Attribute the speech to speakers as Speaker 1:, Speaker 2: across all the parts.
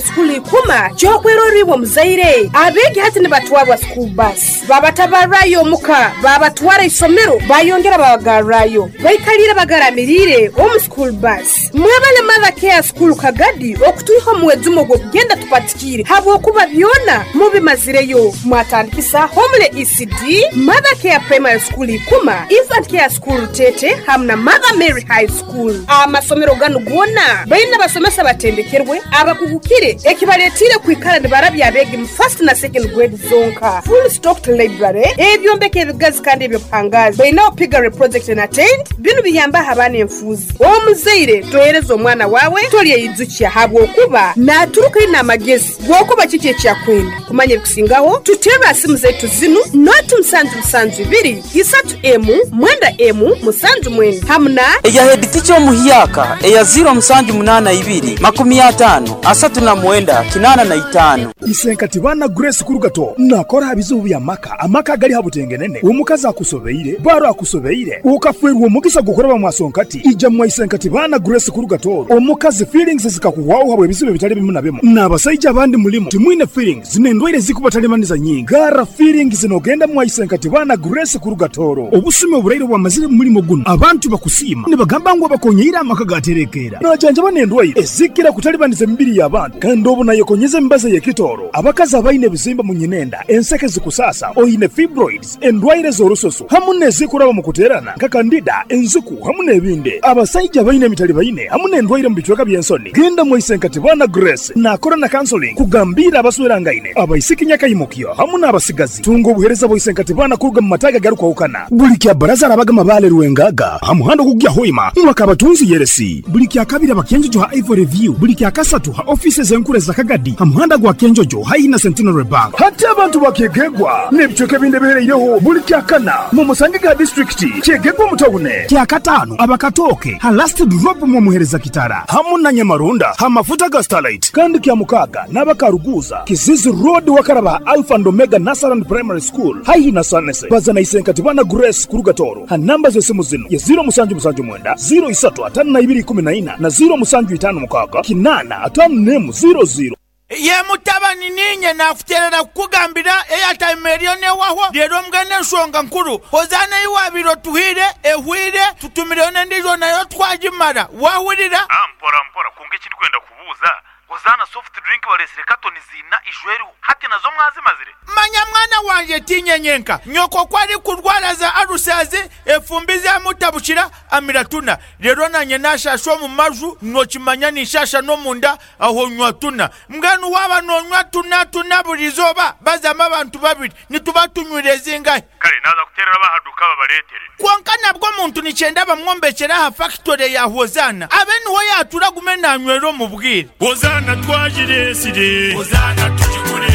Speaker 1: School Ikuma ky'okwerorra iwe omuzaire. Abeegi hati nibatwarwa school bus, babatabarrayo omuka, babatwara isomero, bayongera babagarrayo. Baikaliire bagaramiriire omu school bus. Mwebale Mother Care School Kagadi okutwiha omu mwejumo gw'okugenda tupatikiire habwokuba byona mubimazireyo. Mwatandikisa Homely ECD, Mother Care Primary School Ikuma, Infant Care School Rutete hamu na Mother Mary High School. Amasomero ganu goona baine abasomesa abatendekerwe, abakugukire ekibaletiire kwikara nibarabya abeegi mu first na second grade zonka. Full stocked library, ebyombeko ebigazi kandi eby'obuhangaazi. Bainaho piggery project na tent, binu biyambaho abaana enfuuzi. Omuzaire tohereza omwana waawe tolyeyijukya habwokuba naturuka aine amagezi g'okuba kiki eki akwenda. Kumanya ebikusingaho tuterre aha simu zaitu zinu, noti musanju musanju ibiri, isatu emu, mwenda emu, musanju mwenda hamu na.
Speaker 2: Eya headteacher omuhyaka eya 0782 50 39 85.
Speaker 3: Isenkati baana Grace Kurugato nakora aha bizibu by'amaka, amaka agali ha butengenene, omukazi akusobeire, baro akusobeire, okafeerwa omugisa gw'okuraba mwasonkati, ija mwa Isenkati baana Grace Kurugato, omukazi feelings zikakuhwaho habw'ebizibu ebitali bimu na bimu, n'abasaija abandi mulimu timwine feelings n'endwaire ezikubatalibaniza nyingi, garra feelings nogenda mwa Isenkati baana Grace Kurugatoro. Obusumi oburaire obwamazire mu mulimo gunu, abantu bakusiima nibagamba ngu abakonyeire amaka gaterekeera. Najanjaba n'endwaire ezikira kutalibaniza emibiri y'abantu kandi obu nayekonyeza emibazi ey'ekitooro. Abakazi abaine ebizimba mu nyinenda, enseke zikusaasa, oine fibroids, endwaire z'orususu hamu n'ezikuraba omu kuteerana nka kandida, enziku hamu n'ebindi. Abasaija abaine emitalibaine hamu n'endwaire omu bicweka by'ensoni, genda mwaise Nkatibana Grace naakora na counseling kugambiira abaswerangaine, abaisiki nyakaimukyo hamu n'abasigazi. Tunga obuheereza bwa Isenkatibana kuruga mu mataagi agarukwahukana. Buli kya Baraza arabaga Mabaale Rwengaga ha muhanda ogukugya Hoima mwaka Abatunzi Yeresi. Buli kya Kabiri aba Kyenjojo ha Ivory View. Buli kya Kasatu ha ofiisi ez'enkuru eza Kagadi ha muhanda gwa Kyenjojo haihi na Centenary Bank. Hati abantu ba Kyegegwa n'ebicweka ebindi ebihereireho buli kya Kana mumusange ha disiturikiti Kyegegwa omu tawune. Kya Kataano aba Katooke ha Last Drop mwomuhereza Kitara hamu na Nyamaronda ha mafuta ga Starlight. Kandi kya Mukaaga n'aba Karuguuza, Kizizi Road wakaraba ha Alpha and Omega Nursery and Primary School haihi na Sanese. Baza na Isenkatibana Grace kuruga Tooro ha namba z'esimu zinu ye 0779 03 52 14 na 0756 8 51 00.
Speaker 4: Ye mutabani, niinye naakuteerera kukugambira eyataima eriyo n'ehwaho. Reero mbwenu enshonga nkuru, Hozaana ei waabaire otuhaire ehwaire, tutumireyo n'endiijo nayo twagimara. Waahurira?
Speaker 5: Mpora mpora, kwonka eki ndikwenda kubuuza, Hozaana soft drink bareetsire katoni ziina ijo eriho, hati nazo mwazimazire?
Speaker 4: Manya mwana wangye, tiinye nyenka. Nyoko ku arikurwara za alusazi, efumbi zaamutabukira, amira tuna. Reero naanye naashaasha omu maju, nookimanya ninshaasha n'omunda, Aho nywa tuna. Mbwenu waaba noonywa tuna tuna buri izooba, bazamu abantu babiri, nituba tunywire zingahi?
Speaker 5: Kare naaza kuteerera ab'aha duuka babareetere.
Speaker 4: Kwonka nabwo omuntu nikyenda bamwombekyere aha fakitore ya Hozaana, abe niho yaatura agume naanywera omu bwire.
Speaker 6: Hozaana twagireetsire. Hozaana tugigure.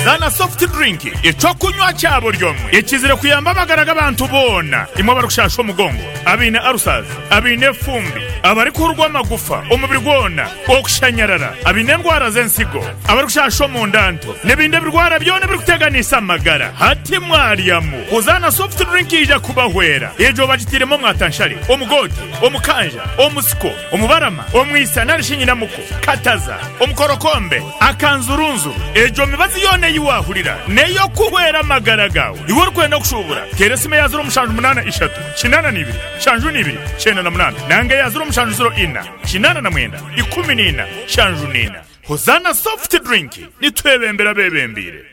Speaker 7: Zaana Soft Drink, eky'okunywa kya buri omwe ekizire kuyamba amagara g'abantu boona. Imwe abarikushasha omugongo, abaine ulcers, abaine efumbi, abarikuhurwa amagufa omubiri gwona, okushanyarara, abaine endwara z'ensigo, abarikushasha omunda nto, n'ebindi ebirwara byona ebirikuteganisa amagara. Hati mwaryamu Hozaana Soft Drink eija kubahwera. Egyo bagitairemu omwatanshare, omugoote, omukanja, omusiko, omubarama, omwisa nari shi nyinamuko, kataza, omukorokombe, Akanzurunzuru, Egyo mibazi yoona ei waahurira n'ey'okuhwera amagara gaawe. Iwe orikwenda kushuubura, teera esimu eya 0783 82 72 98 nanga eya 0704 89 14 74. Hozaana Soft Drink, nitwebembera abeebembeire.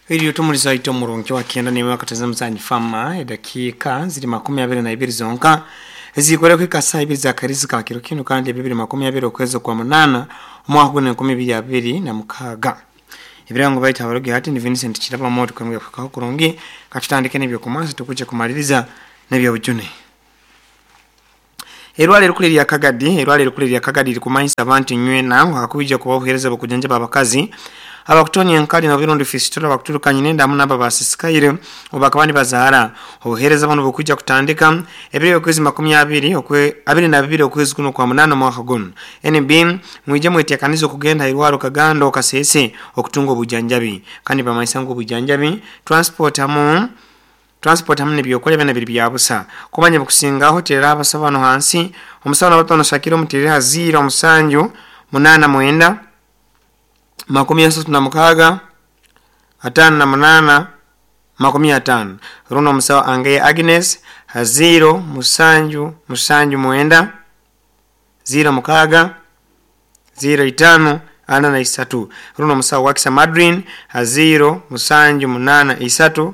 Speaker 8: Eriyo tumuliza aite omurungi wa kyenda n'emwe akateza muzanyi fama edakiika ziri makumi abiri na ibiri zonka eziikore kuhika saa ibiri za karizi ka kiro kinu kandi ebyo biri makumi abiri okwezi okwa munana omwaka guno enkumi ibiri abiri na mukaaga. Ebirango baitu abarugi hati ni Vincent Kiraba Moto kwemwe kuhikaho kurungi katutandike n'ebyokumansa tukuje kumaliriza n'ebyobujune. Eirwaro erikuru erya Kagadi Eirwaro erikuru erya Kagadi ririkumanyisa abantu nywena ngu hakwija kubaho obuheereza bw'okujanjaba abakazi Abakutonya enkali nobirundi fistula bakuturuka nyinenda hamu nabo basisikaire obakaba nibazaara. Obuheereza buno bukwijja kutandika ebiro okwezi 22 okwe 22 okwezi kuno kwa 8 omwaka guno. NB mwije mwetekanize okugenda irwaro Kagando Kasese okutunga obujanjabi kandi bamaisa ngu obujanjabi transport hamu nebyokulya byona biri byabusa. Kumanya bukusingaho terera abasabano hansi omusabano batono Shakira omuterera 0 7 8 9 36 58 50. Runo omusawo Angeye Agnes 0 7 7 9 0 6 0 5 43. Runo omusawo Wakisa Madrin 0 7 8 3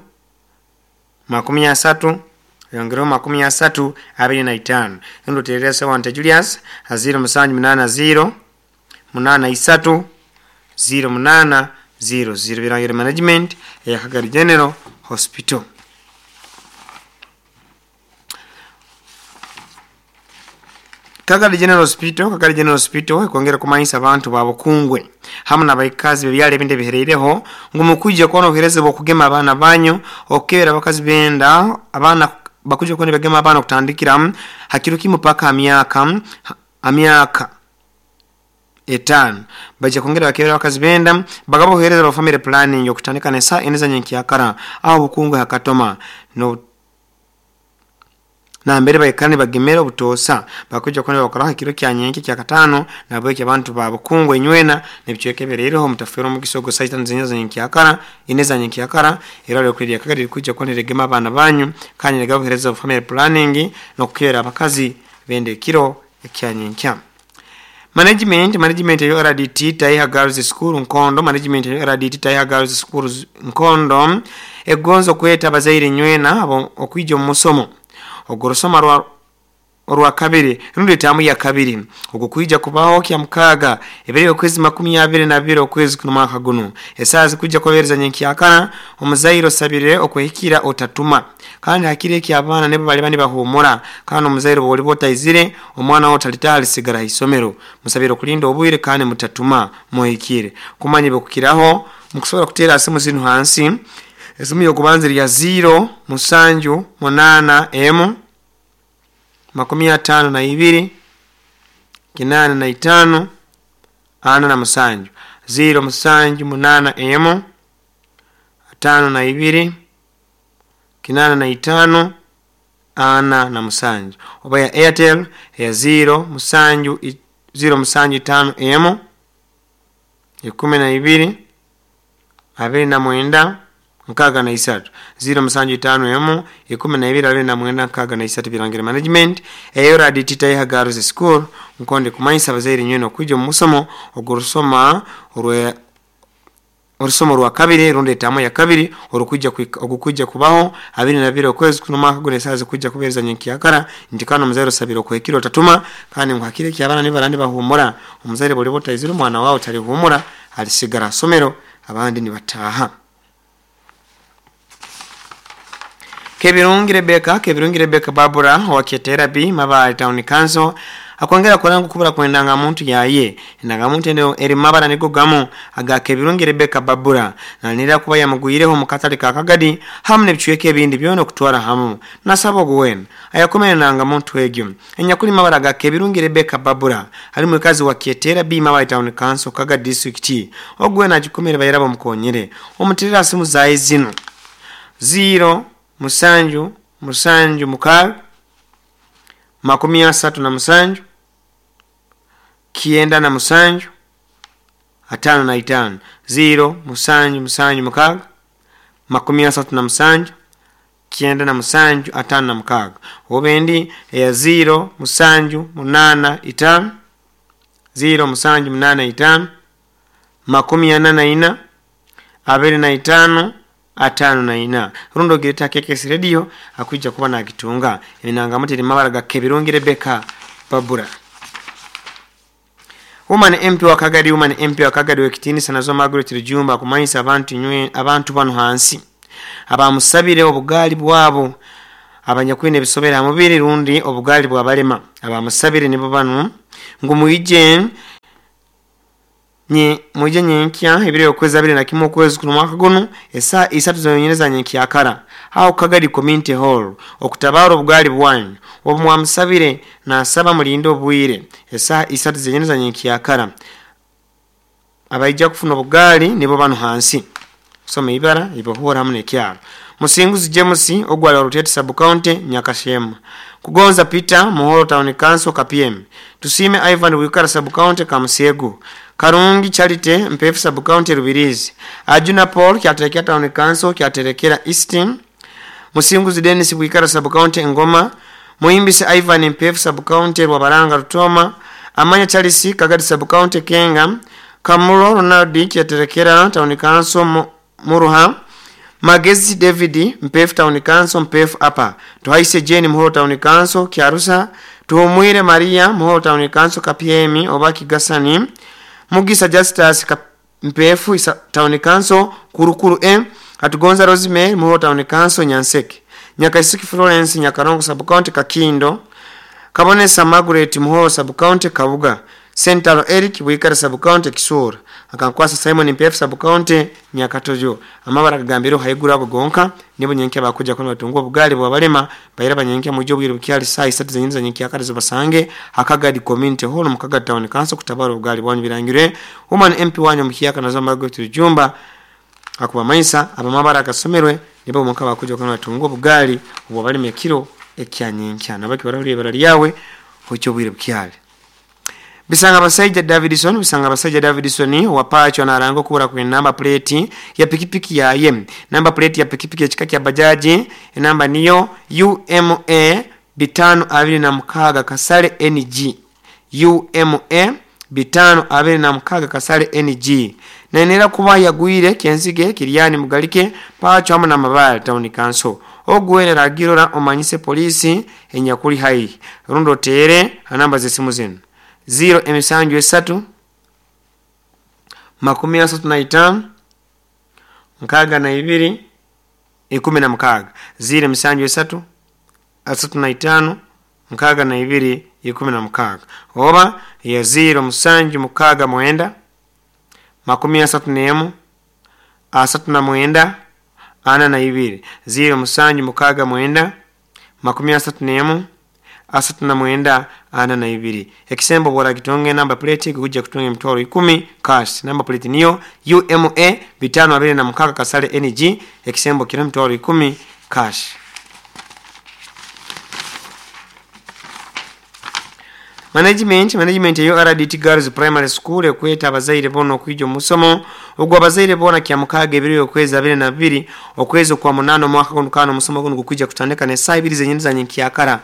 Speaker 8: 30 yongereo 30 25. Runo terera sawa Julius 0 7 8 0 8 3 0 8 0 0. Birangire management ya Kagari General Hospital. Kagari General Hospital, Kagari General Hospital kwongera kumanyisa abantu babukungwe hamu n'abaikazi bebyale ebindi bihereireho ngu mukujja kuona obuhereza bw'okugema abaana banyu okukebera abakazi benda abaana bakujja kuona bagema abaana okutandikira hakiro kimu paka amyaka 5. Baje kongera bakebera abakazi benda bagaba obuhereza bwa family planning okutandika nesa eneza nyenkyakara aho bukungwe hakatoma no na mbere baikane bagemera obutosa bakuja kone bakora hakiro kya nyenke kya katano nabo abantu babukungwe nywena nebichwekeberereho mutafero mugisogo site nzinyo nyenkyakara ineza nyenkyakara era lyo kwirya Kagari kuja kone regema abana banyu kandi negabuhereza family planning no kukera abakazi bende kiro kya nyenkya. Management ya RDT Taiha Girls School Nkondo, management ya RDT Taiha Girls School Nkondo egonzo kweta abazaire nywena abo okwijja omusomo ogorosoma orwa kabiri rundi tamu ya kabiri ogukwijja kubaho kya mukaga ebere okwezi 22 okwezi kuno mwaka guno. Esazi kujja kobereza nyenkyakana omuzairo sabire okwehikira otatuma kandi hakire ki abaana nebo bali bani bahumura kandi omuzairo boli botaizire omwana otalitali sigara isomero musabire okulinda obwire kandi mutatuma muhikire. Kumanye bokukiraho mukusobola kutera asimu zinu hansi esimu yokubanza ya 0 7 8 M 52 85 47 0 7 8 M 52 85 47 oba ya Airtel ya 0 7 0 7 5 M 12 29 63 0 7 5 M 12 29 63. Birangire management eyo RDT Taiha Girls School Nkonde kumanyisa abazaire nywena okwijja omusomo ogurusoma orusomo rwa kabiri rundi etamu ya kabiri orukujja ogukujja kubaho 22 okwezi kuno mwaka guno esazi kujja kubereza nyenkyakara nti kano omuzaire osabire okwekiro otatuma kandi ngu hakire ki abaana nibarandi bahumura omuzaire boli botaizire omwana wawe talihumura alisigara somero abandi nibataha. Kebirungi Rebecca Babura wa Ketera B Mabale Town Council akwongera kulangu kubura kwendanga muntu yaye endanga muntu eno eri mabara nigo gamu aga Kebirungi Rebecca Babura nanira kuba yamuguyireho mu katale ka Kagadi hamu nebichweke ebindi byona okutwara hamu nasaba ogwen ayakomene nanga muntu egyo enyakuli mabara ga Kebirungi Rebecca Babura ali mukazi wa Ketera B Mabale Town Council Kagadi District ogwen agikomere bayirabo mukonyere omutirira simu zaye zino 0 7 7 6 37 97 55 0 7 7 6 37 97 56 obendi ya 0 7 8 5 0 7 8 5 44 25 54 rundo gireta KKS Radio akuja kuba na gitunga enanga mutiri mabara ga Kebirungi Rebecca Babura. Woman MP wa Kagadi, woman MP wa Kagadi wekitini sanazo Margaret Rujumba kumanyisa abantu nywe abantu bano hansi abamusabire obugali bwabo abanyakwine bisobera mubiri rundi obugali bwa balema abamusabire nibo bano ngumuije Mwije nyenkya ebiro okwezi 21 okwezi kuno mwaka guno esaa 3 zonyene za nyenkyakara aho Kagadi Community Hall okutabara obugali bwanyu obumwamusabire nasaba mulinde obwire esaa 3 zenyene za nyenkyakara. Abaija kufuna obugali nibo bano hansi soma ibara ibohora hamwe nekyaro. Musinguzi James ogwali Rutete Sub County Nyakashema. Kugonza Peter Muhoro Town Council KPM. Tusime Ivan Wikara Sub County Kamusego. Karungi Charity Mpefu Sub County Rubirizi. Ajuna Paul Kyaterekera Town Council Kyaterekera East. Musinguzi Dennis Wikara Sub County Ngoma. Muhimbisi Ivan Mpefu Sub County Rwabaranga Rutoma. Amanya Charles Kagadi Sub County Kenga. Kamulo Ronald Kyaterekera Town Council Muruha. Magezi David Mpefu Town Council Mpefu Apa. Tuhaise Jane Muhoro Town Council Kyarusa. Tuhumwire Maria Muhoro Town Council KPM oba Kigasani. Mugisa Justus Mpefu Town Council Kurukuru M. Atugonza Rosemary Muhoro Town Council Nyanseke. Nyakaisiki Florence Nyakarongo Sub County Kakindo. Kabonesa Margaret Muhoro Sub County Kabuga. Sentaro Eric Wikara Sub County Kisura. Akankwasa Simon Mpefu Sub County Nyakatojo. Amabara kagambiro haigura ago gonka nibo nyenke bakuja kono batungwa obugali bwabalema bayira banyenke mujo bwire bukyali saa 3 zenyine nyenke akarizo basange Akagadi Community Hall mu Kagadi Town Council kutabara obugali bwanyu birangire. Woman MP wanyu mukiyaka nazo Margaret Rujumba akuba maisa abamabara akasomerwe nibo muka bakuja kono batungwa obugali bwabalema ekiro ekyanyenkya nabaki barabiri barali yawe hocho bwire bukyali. Bisanga basaija Davidson, bisanga basaija Davidson wapacho na arango kubura kwenye namba plate ya pikipiki ya yem. Namba plate ya pikipiki ya chika kya bajaji, namba niyo UMA 526 kasale NG. UMA 526 kasale NG. Na enera kuba yagwire kenzige kiriani mugalike pacho hamu na mabale Town Council. Ogwere ragirora omanyise polisi enyakuli hai. Rundo tere namba zesimu zenu. 0 emisanju 3 35 62 16 0 emisanju 3 35 62 16 oba ya 0 musanju 69 31 39 42 0 musanju 69 31 39 42. Ekisembo bora kitonge namba plate kuja kutonge mtwaro 10 cash. Namba plate niyo UMA 526 kasale NG. Ekisembo kira mtwaro 10 cash. Management ya URDT Girls Primary School ekweta abazaire bona okwijo musomo ogwo abazaire bona kya mukaga ebiri okwezi 22 okwezi kwa 8 mwaka guno kano musomo guno gukwijja kutandika ne saa 2 zenyine za nyenkyakara.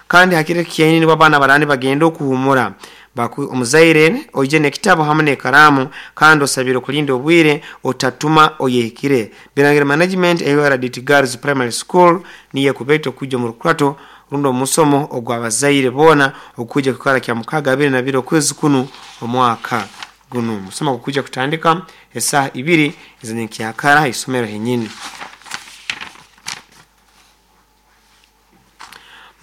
Speaker 8: Kandi hakire kiyaini ni babana barani bagenda okuhumura baku omuzaire oije nekitabo hamwe nekaramu kandi osabire kulinda obwire otatuma oyehikire. Birangira management ya URDT Girls Primary School niye kubeto kuja mu rukwato rundo musomo ogwa abazaire bona okuja kukara kya mukaga 22 okwezi kuno omwaka guno. Musomo kuja kutandika esaa 2 zenyenkyakara isomero henyini.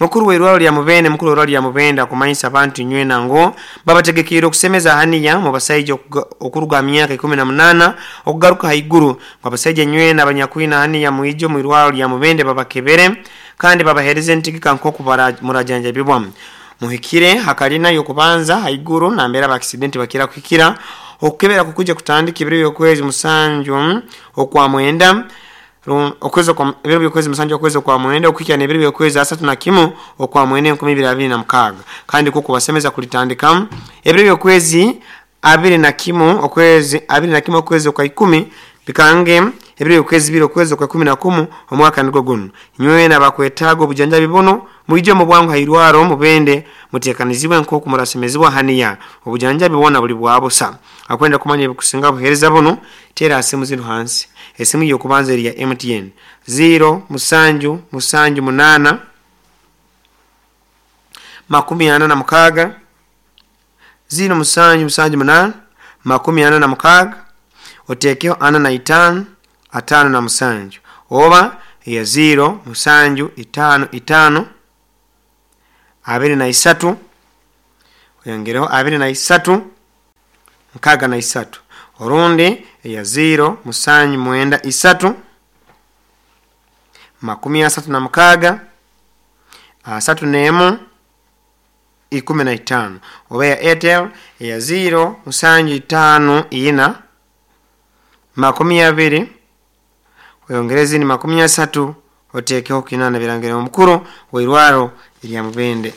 Speaker 8: Mukuru w'irwalo lya Mubende, mukuru w'irwalo lya Mubende akumanyisa abantu nywe nango babategekera okusemeza haniya mu basajja okuruga myaka 18 okugaruka haiguru. Abasajja nywe n'abanyakwina haniya muijo mu irwalo lya Mubende babakebere kandi babahereze entegeka nkoku murajanjabibwa. Muhikire hakalina yokubanza haiguru na mbera ba accident bakira kuhikira okukebera kukuja kutandika ebiro by'okwezi musanju okwa mwenda okwezi kwa ebiro by'okwezi musanju okwezi kwa mwenda okuhikira n'ebiro by'okwezi 31 okwa mwenda 2026 kandi kuko basemeza kulitandika ebiro by'okwezi 21 okwezi 21 okwezi kwa 10 bikange ebiro by'okwezi 2 okwezi kwa 11 omwaka nigwo guno. Nywe n'abakwetaaga obujanjabi buno muije mu bwangu hairwaro Mubende mutekanizibwe nkoku murasemezibwa haniya obujanjabi bona buli bwabusa. Akwenda kumanya ebikusinga buhereza buno tera asimu zino hansi. Esimu yokubanza eri ya MTN 0 musanju musanju 8 46 0 musanju musanju 8 46 otekeho 45 57 oba ya 0 musanju 5 5 23 oyongereho 23 63, orundi eya 0 7 9 3 36 31 15, oba ya Airtel eya 0 7 5 4 20 oyongereze ni 30 otekeho 8. Birangire omukuru weirwaro erya Mubende.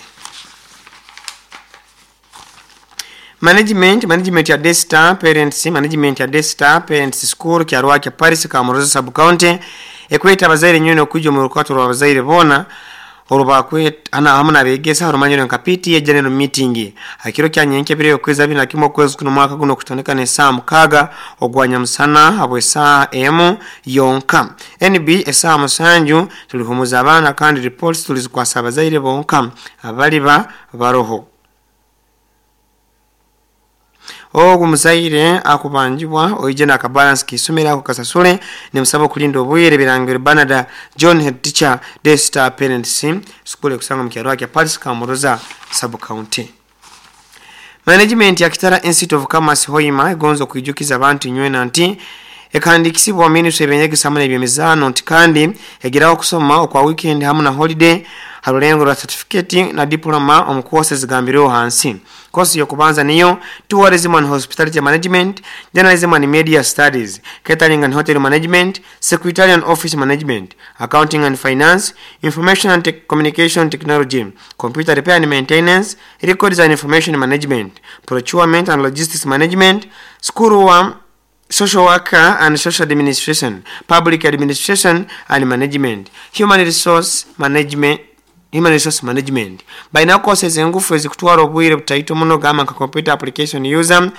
Speaker 8: Management ya Desta Parents, management ya Desta Parents School kyarwakya Paris Kamuroza sub county ekweta abazaire nyone okujja mu rukato rwa abazaire bona olubakwe ana hamu nabegesa rumanyiro nka PTA general meeting hakiro kya nyenke bire okweza bina kimwe okwezi kuno mwaka guno kutandika ne saa 6 ogwanya musana abwe saa emu yonka. NB esaa 7 tulihumuza abaana kandi reports tulizikwasa abazaire bonka abaliba baroho. Ogu muzaire akubanjibwa oije na kabalance kisomera ako kasasule ni musaba kulinda obwire. Birangiro Banada John, head teacher, Desta Parents School kusanga mu kya Paris Kamuroza sub county. Management ya Kitara Institute of Commerce Hoima egonzo kuijukiza abantu nywena nti ekandikisibwa ministry ebenyegesa hamwe n'ebyemizano nti kandi egeraho kusoma okwa weekend hamwe na holiday harulengo rwa certificate na diploma omu courses zigambireho hansi. Kosi yokubanza niyo tourism and hospitality management, journalism and media studies, catering and hotel management, secretarial and office management, accounting and finance, information and communication technology, computer repair and maintenance, records and information management, procurement and logistics management, school wa social worker and social administration, public administration and management, human resource management. Human resource management. Baina courses engufu ezikutwara obwire butaito muno gamba nka computer application user,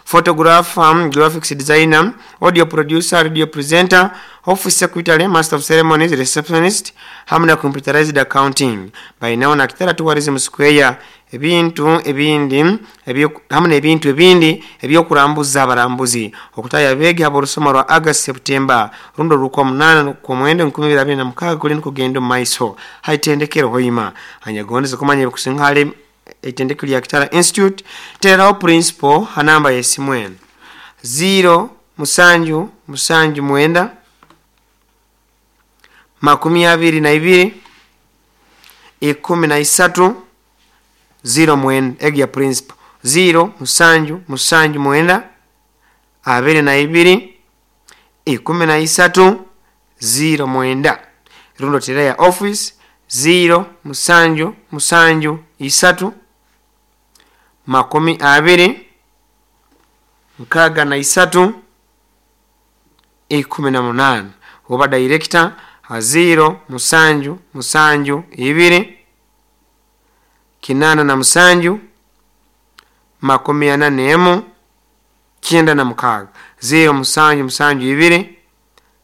Speaker 8: photographer, graphics designer, audio producer, radio presenter, office secretary, master of ceremonies, receptionist, hamwe na computerized accounting. Bainaho na Kitara Tourism Square ebintu ebindi hamwe n'ebintu ebindi ebyokurambuza abarambuzi okutaya abegi aborusoma rwa August September rundo rukwa 8 kwa mwenda 2026 kuli nkugenda mu maiso haitendekero Hoima. Anyagondeza kumanya bikusinghale itendekero lya Kitara Institute teraho principal hanamba yesimu eno 0 7 7 9 22 13 0 9 egi ya principal 0 7 7 9 22 13 0 9. Rundo tera ya office 0 7 7 3 20 63 18. Oba director 0 7 7 2 87 41 96 0 7 7 2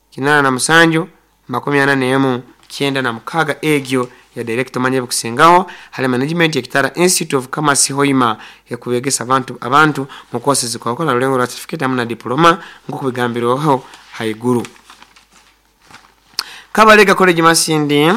Speaker 8: 87 41 96 egyo ya director manye bukusingaho hali management ya Kitara Institute of Commerce Hoima ekubegesa abantu mu courses kwa kola rulengo rwa certificate hamwe na diploma nko haiguru. Kabalega College Masindi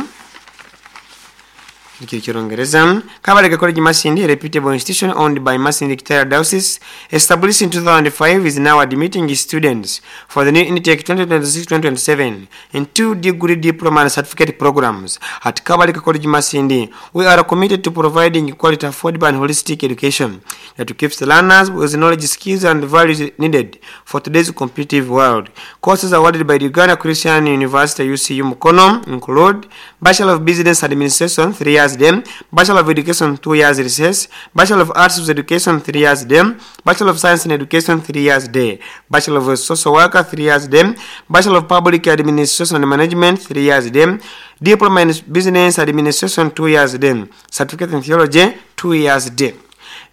Speaker 8: Kirongereza. Kabalega College Masindi, a reputable institution owned by Masindi Kitara Diocese, established in 2005, is now admitting students for the new intake 2026-2027 in 2 degree diploma and certificate programs. At Kabalega College Masindi, we are committed to providing quality, affordable and holistic education that keeps the learners with the knowledge, skills and values needed for today's competitive world. Courses awarded by the Uganda Christian University UCU Mukono include Bachelor of Business Administration 3 years them, Bachelor of Education 2 years recess, Bachelor of Arts with Education 3 years them, Bachelor of Science in Education 3 years day, Bachelor of Social Worker 3 years them, Bachelor of Public Administration and Management 3 years them, Diploma in Business Administration 2 years them, Certificate in Theology 2 years day.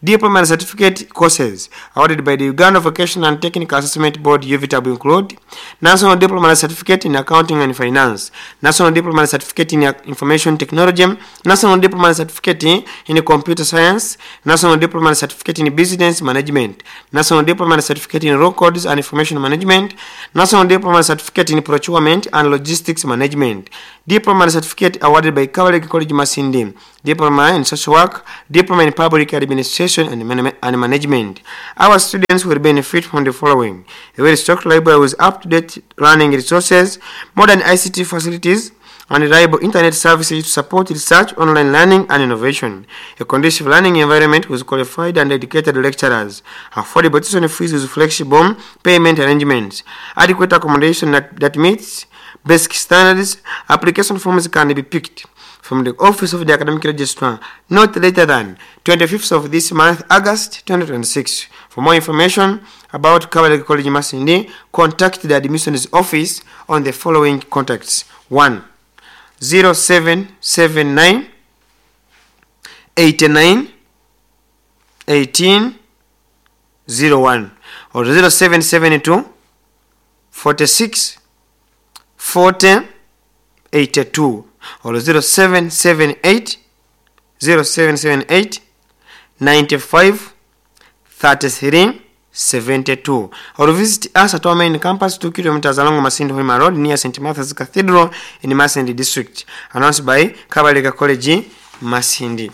Speaker 8: Diploma and certificate courses awarded by the Uganda Vocational and Technical Assessment Board UVTAB include National Diploma and Certificate in Accounting and Finance, National Diploma and Certificate in Information Technology, National Diploma and Certificate in Computer Science, National Diploma and Certificate in Business Management, National Diploma and Certificate in Records and Information Management, National Diploma and Certificate in Procurement and Logistics Management, Diploma and Certificate awarded by Kabalega College Masindi, Diploma in Social Work, Diploma in Public Administration, administration and management. Our students will benefit from the following: a well-stocked library with up-to-date learning resources, modern ICT facilities, and reliable internet services to support research, online learning, and innovation. A conducive learning environment with qualified and dedicated lecturers. Affordable tuition fees with flexible payment arrangements. Adequate accommodation that meets basic standards. Application forms can be picked from the office of the academic registrar not later than 25th of this month, August 2026. For more information about Kabalega College Masindi, contact the admissions office on the following contacts: 1 0779 89 18 01 or 0772 46 40 82 or 0778 0778 95 33 72 or visit us at our main campus, 2 kilometers along Masindi Hoima Road, near St. Martha's Cathedral in Masindi District. Announced by Kabalega College, Masindi.